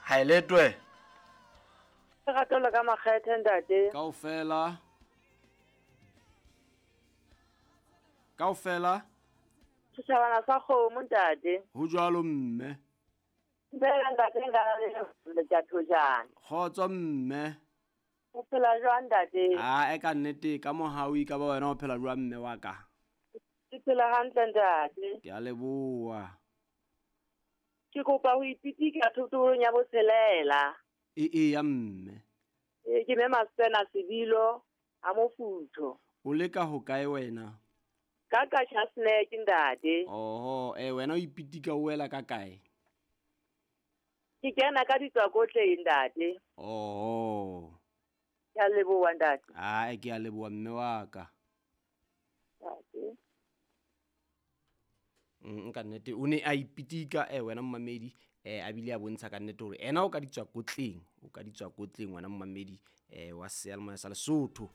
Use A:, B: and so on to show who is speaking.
A: Ha e letwe.
B: Lerato le ka makgethe ntate.
A: Kaofela. Kaofela.
B: Setjhabana sa kgomo ntate.
A: Ho jwalo mme.
B: Dumela ntate nka le Tjathojane.
A: Kgotso mme.
B: O phela jwang ntate?
A: A e ka nnete ka mohau e ka ba wena o phela jwang mme wa ka?
B: Ke phela hantle ntate.
A: Ke a leboha.
B: Ke kopa ho ipitika thotolong ya botshelela.
A: E e ya mme.
B: E ke mme Masena Sebilo a mofutho.
A: O leka ho kae wena?
B: Ka ka Chasnek ntate.
A: Oho, e wena o ipitika o wela ka kae?
B: Ke kena ka ditswakotleng ntate.
A: Oho.
B: Ke a leboha ntate.
A: Ae ke a leboha mme wa ka.
B: Ntate.
A: Ka nnete o ne a ipitika wena mmamedi a bile a bontsha ka nnete hore ena o ka ditswakotleng, o ka ditswakotleng wena mmamedi wa seyalemoya sa Lesotho.